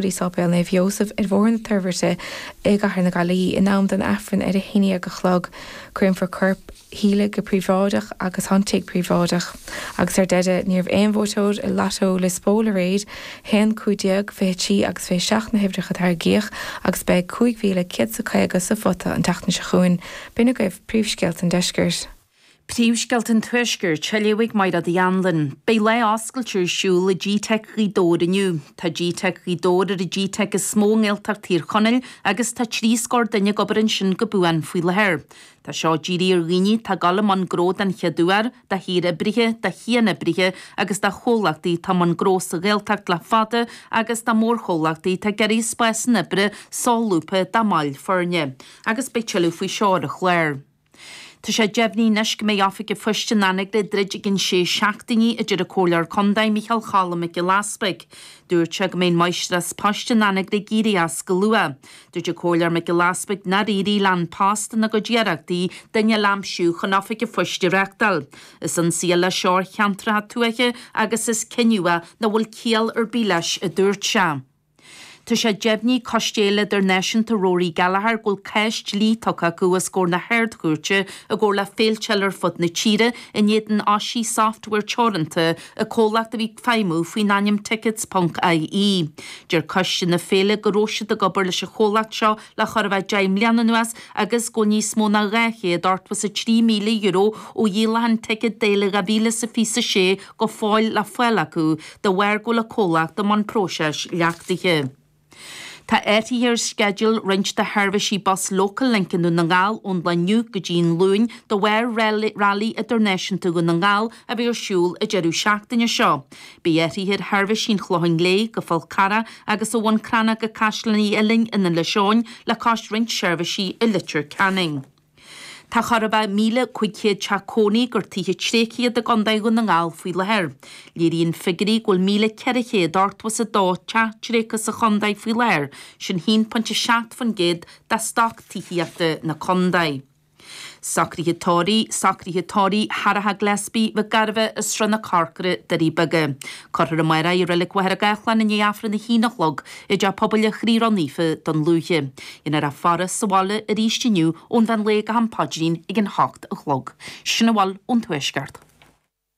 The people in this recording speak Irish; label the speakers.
Speaker 1: go dtí Sáipéal Naomh Iósaf ar Bhóthar na Toirbhirte i gCathair na Gaillimhe in am don Aifreann ar a 11 a chlog. Créamfar corp Shíle go príobháideach agus tá an tigh príobháideach. Agus ar deireadh, ní raibh aon bhuaiteoir i Lotto Lios Póil aréir, 1, 15, 23 agus 27 na huimhreacha a tarraingíodh agus beidh 5,150 sa phota an tseachtain seo chugainn. B'in agaibh príomhscéalta an deiscirt.
Speaker 2: Príomhscéalta an Tuaiscirt, á léamh ag Mairéad Uí Anluain. Beidh lá oscailte ar siúl i GTeic Ghaoth Dobhair inniu. Tá GTeic Ghaoth Dobhair ar an GTeic is mó i nGaeltacht Thír Chonaill agus tá 30 scór duine ag obair ansin go buan faoi láthair. Tá seo dírithe ar dhaoine atá ag dul i mbun gnó den chéad uair, do shaoroibrithe, do chianoibrithe agus do chomhlachtaí atá i mbun gnó sa Ghaeltacht le fada agus do mhórchomhlachtaí atá ag iarraidh spásanna oibre solúbtha dá mbaill foirne. Agus beidh tuilleadh faoi seo ar an chlár. Tá sé deimhnithe anois go mbeidh Oifig an Phoist in Anagaire ag druid i gcionn sé seachtainí, a deir an Comhairleoir Contae Micheál Cholm Mac Giolla Easpaig. Dúirt sé go mbeidh an Máistreás Poist in Anagaire ag éirí as go luath. Dúirt an Comhairleoir Mac Giolla Easpaig nár éirigh le An Post ina gcuid iarrachtaí duine eile a aimsiú chun Oifig an Phoist a reachtáil. Is ionsaí eile seo ar cheantracha tuaithe agus is cinneadh é nach bhfuil ciall ar bith leis, a dúirt sé. Tá sé deimhnithe ag Coiste Fhéile Idirnáisiúnta Rory Gallagher go bhfuil cás dlí tugtha acu os comhair na hArd-Chúirte i gcomhar le féilte eile ar fud na tíre in éadan Oisí Software Teoranta, an comhlacht a bhí ag feidhmiú faoin ainm Tickets ponc IE. Deir coiste na féile go raibh siad ag obair leis an chomhlacht seo le chóir a bheith 10 mbliana anuas agus go bhfuil níos mó ná €283,000 ó dhíolachán ticéad d'fhéile 2026 go fóill le fáil acu de bharr go bhfuil an comhlacht i mbun próiseas leachtaithe. Tá athruithe ar sceideal roinnt de sheirbhísí bus Local Link i nDún na nGall ón lá inniu go dtí an Luan de bharr Railí Idirnáisiúnta Dhún na nGall a bheidh ar siúl an deireadh seachtaine seo. Beidh athruithe ar sheirbhísí an Chlocháin Léith go Fál Carrach agus ó Bhun Cranncha go Caisleán Uí Uillinn in Inis Eoghain le cois roinnt seirbhísí i Leitir Ceanainn. Tá chóir a bheith 1,500 teach cónaí gur tithe tréigthe iad i gContae Dhún na nGall faoi láthair. Léiríonn figiúirí go bhfuil 1,482 teach tréigthe sa chontae faoi láthair, sin 1.7% de stoc tithíochta na contae. Socruithe tórraimh, Socruithe tórraimh Sharaha Gillespie Mhic Gairbheith as Srath na Corcra, Doirí Beaga. Cuirfear amárach í i Reilig Mhachaire Gathlán i ndiaidh Aifreann a haon a chlog i dTeach Pobail an Chroí Ró-Naofa Dún Lúiche. Déanfar é a faire sa bhaile arís inniu ón mheán lae go ham paidrín ag an hocht a chlog. Sin a bhfuil ón Tuaisceart.